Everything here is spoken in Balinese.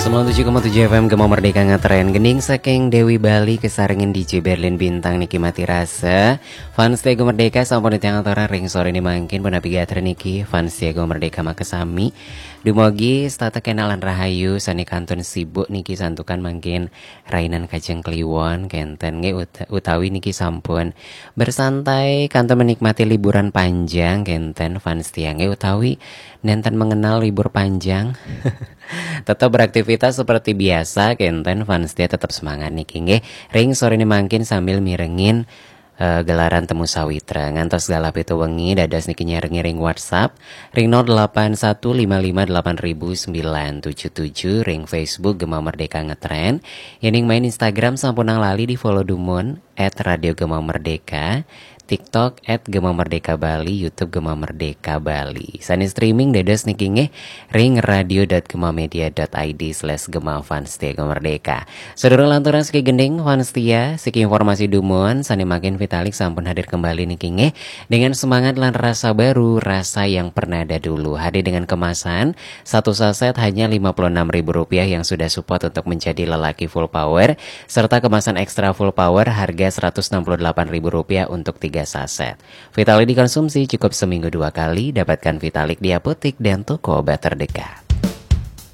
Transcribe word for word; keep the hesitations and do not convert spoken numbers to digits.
Sembilan tujuh koma tujuh F M Gema Merdeka ngetren. Gending saking Dewi Bali kesarengin D J Berlin Bintang niki mati rasa. Fans Gema Merdeka sampun titiang aturang ring sore niki mangkin punapi gatra niki fans Gema Merdeka makasami. Dumogi setata kenalan rahayu sane kantun sibuk niki santukan mangkin rainan Kajeng Kliwon kenten nggih uta- utawi niki sampun bersantai kantun menikmati liburan panjang kenten fans tiang nggih utawi nenten mengenal libur panjang. Tetap beraktivitas seperti biasa kenten fans dia tetap semangat niki nggih. Ring sore niki mangkin sambil mirengin eh, gelaran temu sawitra ngantos galah pitu wengi dados niki nyarengin ring WhatsApp ring nol delapan satu lima lima delapan ribu sembilan tujuh tujuh, ring Facebook Gema Merdeka Ngetren. Yening main Instagram sampunang lali di follow dumun at radio gema merdeka, TikTok at Gema Merdeka Bali, YouTube Gema Merdeka Bali. Sane streaming dados niki nggih ring radio dot gemamedia dot id slash gema fans Gema Merdeka. Sedurung lanturang siki gending fans setia, siki informasi dumun sane mangkin Vitalik sampun hadir kembali niki nggih dengan semangat lan rasa baru, rasa yang pernah ada dulu. Hadir dengan kemasan satu saset hanya lima puluh enam ribu rupiah yang sudah support untuk menjadi lelaki full power serta kemasan ekstra full power harga seratus enam puluh delapan ribu rupiah untuk tiga saset. Vitalik dikonsumsi cukup seminggu dua kali, dapatkan Vitalik di apotek dan toko obat terdekat.